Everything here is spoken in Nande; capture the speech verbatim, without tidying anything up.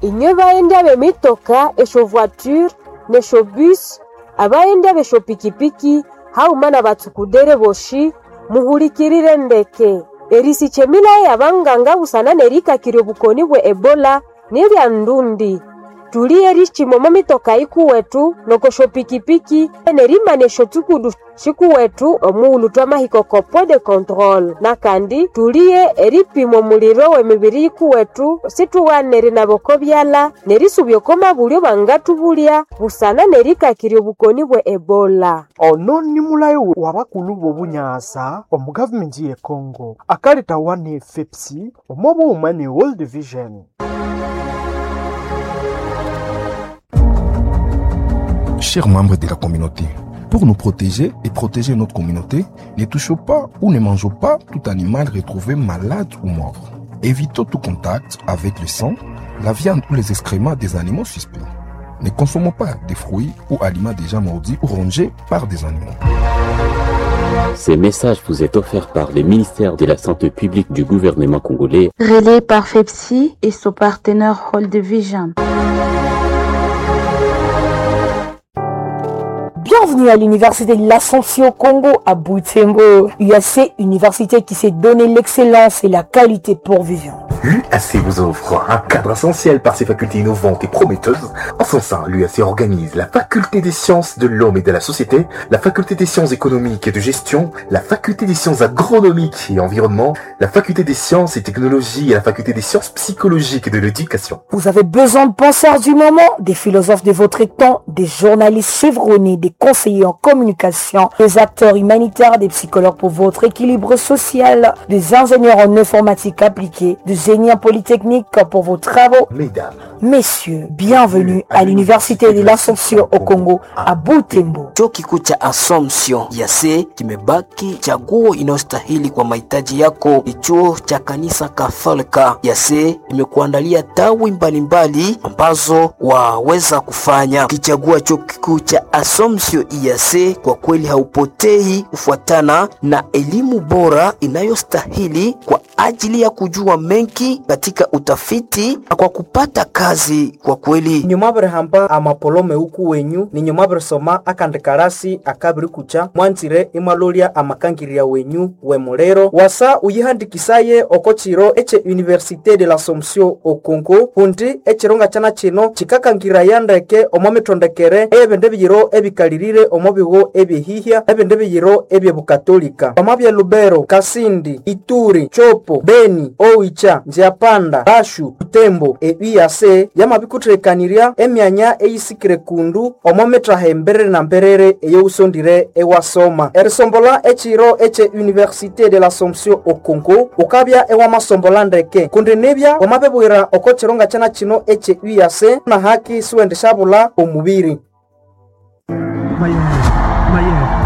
Inywe baghenda b'emitoka, esyovoiture n'esyobus, abaghenda b'esyopikipiki haghuma n'abatsukudere boshi, muhulikirire ndeke. Erisikya emilaya y'abanganga busana n'erikakirya obukoni bwe Ebola ni lya ndundi. Tuliye erikyima omo mitoka yikuwethu n'oko syopikipiki n'erimana esyotsukudu sikuwethu omughulhu twamahika oko point de controle. Nakandi tuliye eripima omuliro w'emibiri yikuwethu situghane erinaba oko byalha n'erisubya oko mabulyo bangathubulya busana n'erikakirya obukoni bwe Ebola. Ono ni mulayo w'abakulhu b'obunyasa omu gavumenti ye Congo akaletawa ne FEPSI omo bughuma ne World Vision. Chers membres de la communauté, pour nous protéger et protéger notre communauté, ne touchons pas ou ne mangeons pas tout animal retrouvé malade ou mort. Évitons tout contact avec le sang, la viande ou les excréments des animaux suspects. Ne consommons pas des fruits ou aliments déjà mordus ou rongés par des animaux. Ces messages vous est offert par le ministère de la Santé publique du gouvernement congolais, Relais par FEPSI et son partenaire World Vision. Bienvenue à l'université de l'Assomption au Congo à Butembo. U A C, université qui s'est donné l'excellence et la qualité pour vivre. L'U A C vous offre un cadre essentiel par ses facultés innovantes et prometteuses. En son sein, l'U A C organise la faculté des sciences de l'homme et de la société, la faculté des sciences économiques et de gestion, la faculté des sciences agronomiques et environnement, la faculté des sciences et technologies et la faculté des sciences psychologiques et de l'éducation. Vous avez besoin de penseurs du moment, des philosophes de votre temps, des journalistes chevronnés, des conseillers en communication, des acteurs humanitaires, des psychologues pour votre équilibre social, des ingénieurs en informatique appliquée, des génies polytechniques pour vos travaux. Mesdames, Messieurs, bienvenue à l'université de l'Assomption au Congo à Butembo. Chuo kikuu cha Assumption ya C kimebaki chaguo inayostahili kwa mahitaji yako. Ni chuo cha kanisa Katholika ya C imekuandalia tawi mbalimbali ambazo waweza kufanya. Ukichagua chuo kikuu cha Assumption ya C, kwa kweli haupotei kufuatana na elimu bora inayostahili kwa ajili ya kujua mengi katika utafiti na kwa kupata kazi kwa kweli. Nyuma birihamba amapolome uku wenyu ninyuma birisoma akandikarasi akabirikucha mwanzire imwalolya amakangirya wenyu wemuliro wasa uyihandikisaye oko chiro eche Université de l'Assomption o Congo hundi echironga chana chino chikakangiraya ndeke omo mitondekere ebindi biyiro ebikalirire omo bigo ebyehihya ebindi biyiro ebyebukatolika omo bya Lubero, Kasindi, Ituri, Chopo, Beni, Oicha, Nziapanda, Bashu, Butembo, e U A C yamabikuthirekanirya emyanya eyisikire kundu omo mittaha emberere na mberere eyousondire ewasoma. Erisombola echiro eche Université de l'Assomption o Congo ukabya ewamasombola ndeke kundi nibya wamabibwira oko chironga chana chino eche U A C na haki siwendishabula omubiri. Mayer, Mayer,